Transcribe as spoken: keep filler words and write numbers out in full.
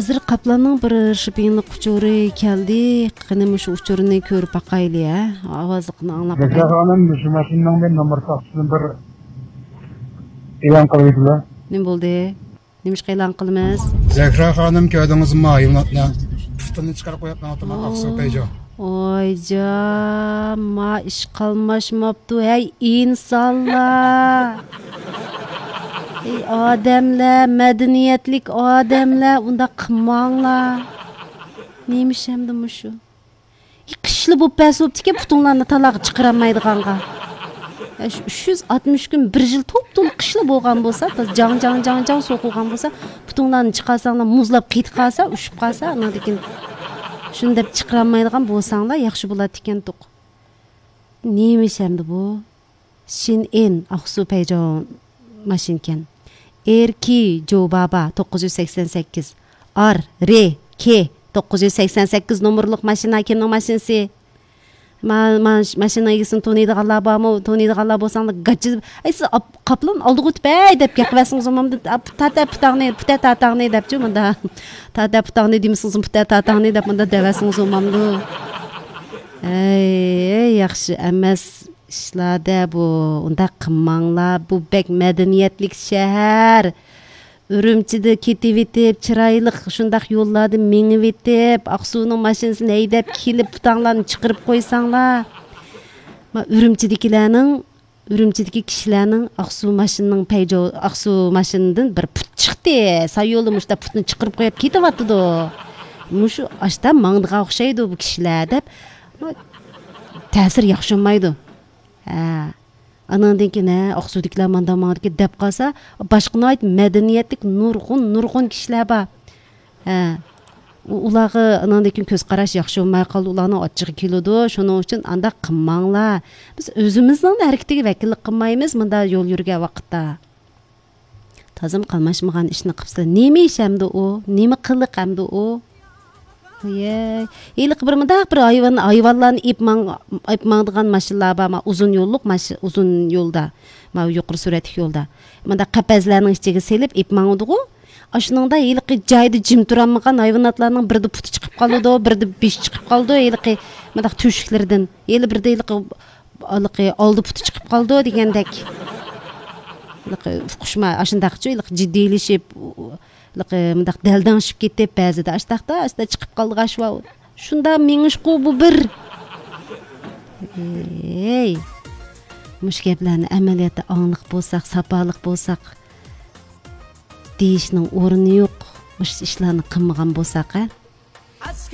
ھازىر قاپلاننىڭ بىر شىپىڭلىق ئۇچۇرى كەلدى. قېنى مۇشۇ ئۇچۇرنى كۆرۈپ باقايلى، ھە؟ ئاۋازلىقىنى ئاڭلاپ باقايلى. خانىم، مۇشۇ ماشىنىنىڭ بىر نومۇر تاختىسىنى بىر ئېلان قىلىۋېتىڭلار. نېمە بولدى؟ نېمىشقا ئېلان قىلىمىز؟ زەھرا خانىم، كۆردىڭىزمۇ ھايۋاناتنى؟ پۇتىنى چىقىرىپ قويۇپ ماڭىدۇ، ئاقسۇ پەيجو. ۋايجان، ما ئىش قالماشماپتۇ، ھەي ئىنسانلار! ھەي ئادەملەر، مەدەنىيەتلىك ئادەملەر، ئۇنداق قىلماڭلار. نېمە ئىش ئەمدى مۇشۇ؟ قىشلا بولۇپ بەرسە بوپتىكەن، پۇتۇڭلارنى تالاغا چىقىرالمايدىغانغا. يا، شۇ ئۈچ يۈز ئاتمىش كۈن، بىر يىل توپتولا قىشلا بولغان بولسا، تازا جاڭ، جاڭ، جاڭ، جاڭ سوقۇلغان بولسا، پۇتۇڭلارنى چىقارساڭلار، مۇزلاپ قېتىپ قالسا، ئۇشۇپ قالسا، ئاندىن كېيىن شۇنى دەپ چىقىرالمايدىغان بولساڭلار، ياخشى بولاتتىكەنتۇق. نېمە ئىش ئەمدى بۇ؟ شىن ئىن، ئاقسۇ پەيجاڭ ماشىنىكەن. ئېر كى جو بابا، توققۇز يۈز سەكسەن سەككىز. ئار رې كې، توققۇز يۈز سەكسەن سەككىز نومۇرلۇق ماشىنا. كىمنىڭ ماشىنىسى؟ ما-، ما-، ماشىنا ئىگىسىنى تونۇيدىغانلار بارمۇ؟ تونۇيدىغانلار بولساڭلار، گاچا. ئەي، سىز ئاپ-، قاپلان ئالدىغا ئۆتۈپ، ھەي دەپ گەپ قىلىۋەرسىڭىز بولمامدۇ؟ ئاپ-، تاتە پۇتاڭنى، پۇتە تاتاڭنى دەپچۇ مۇندا. تاتە پۇتاڭنى دېمىسىڭىز، پۇتە تاتاڭنى دەپ مۇندا دەۋەرسىڭىز بولمامدۇ؟ ئەي، ياخشى ئەمەس ئىشلار-دە بۇ. ئۇنداق قىلماڭلار. بۇ بەك مەدەنىيەتلىك شەھەر. ئۈرۈمچىدە كېتىۋېتىپ، چىرايلىق شۇنداق يوللاردا مېڭىۋېتىپ، ئاقسۇنىڭ ماشىنىسىنى ھەيدەپ كېلىپ، پۇتاڭلارنى چىقىرىپ قويساڭلار. ما ئۈرۈمچىدىكىلەرنىڭ، ئۈرۈمچىدىكى كىشىلەرنىڭ ئاقسۇ ماشىنىنىڭ پەيجو-، ئاقسۇ ماشىنىدىن بىر پۇت چىقتى. سايولدا مۇشۇنداق پۇتنى چىقىرىپ قويۇپ كېتىۋاتىدۇ. مۇشۇ ئاشتا ماڭىدىغان ئوخشايدۇ بۇ كىشىلەر دەپ، ما تەسىر ياخشى بولمايدۇ. ھە. ئاناندىن كېيىن، ھە، ئاقسۇدىكىلەر ماندا ماڭىدىكەن دەپ قالسا، باشقا ناھايىتى مەدەنىيەتلىك نۇرغۇن، نۇرغۇن كىشىلەر بار. ھە. ئۇ-، ئۇلارغا ئاناندىن كېيىن كۆز قاراش ياخشى بولماي قالىدۇ، ئۇلارنىڭ ئاچچىقى كېلىدۇ. شۇنىڭ ئۈچۈن ئانداق قىلماڭلار. بىز ئۆزىمىزنىڭ ھەرىكىتىگە ۋەكىللىك قىلمايمىز، مۇندا يول يۈرگەن ۋاقىتتا. تازىمۇ قاملاشمىغان ئىشنى قىپسىلەر. نېمە ئىش ئەمدى ئۇ؟ نېمە قىلىق ئەمدى ئۇ؟ ۋىي، ھېلىقى بىر مۇنداق بىر ھايۋان، ھايۋانلارنى ئېپ ماڭ-، ئېپ ماڭىدىغان ماشىنىلار بار، ما ئۇزۇن يوللۇق ماشىنا، ئۇزۇن يولدا، ما يۇقىرى سۈرئەتلىك يولدا. مۇنداق قەپەسلەرنىڭ ئىچىگە سېلىپ ئېپ ماڭىدىغۇ. ئاشۇنىڭدا ھېلىقى جايىدا جىم تۇرالمىغان ھايۋاناتلارنىڭ بىردە پۇتى چىقىپ قالىدۇ، بىردە بېشى چىقىپ قالىدۇ، ھېلىقى مۇنداق تۆشۈكلىرىدىن. ھېلى بىردە ھېلىقى ھېلىقى ئالدى پۇتى چىقىپ قالىدۇ دېگەندەك. ھېلىقى ئۇقۇشما-، ئاشۇنداقچۇ، ھېلىقى جىددىيلىشىپ، ھېلىقى مۇنداق دەلدەڭشىپ كېتىپ، بەزىدە ئاشتاقتا، ئاشتا چىقىپ قالىدىغان ئىش بار. شۇنداق مېڭىشقۇ بۇ بىر. ئەي، مۇشۇ گەپلەرنى ئەمەلىيەتتە ئاڭلىق بولساق، ساپالىق بولساق دېيىشنىڭ ئورنى يوق. مۇشۇ ئىشلارنى قىلمىغان بولساق، ھە؟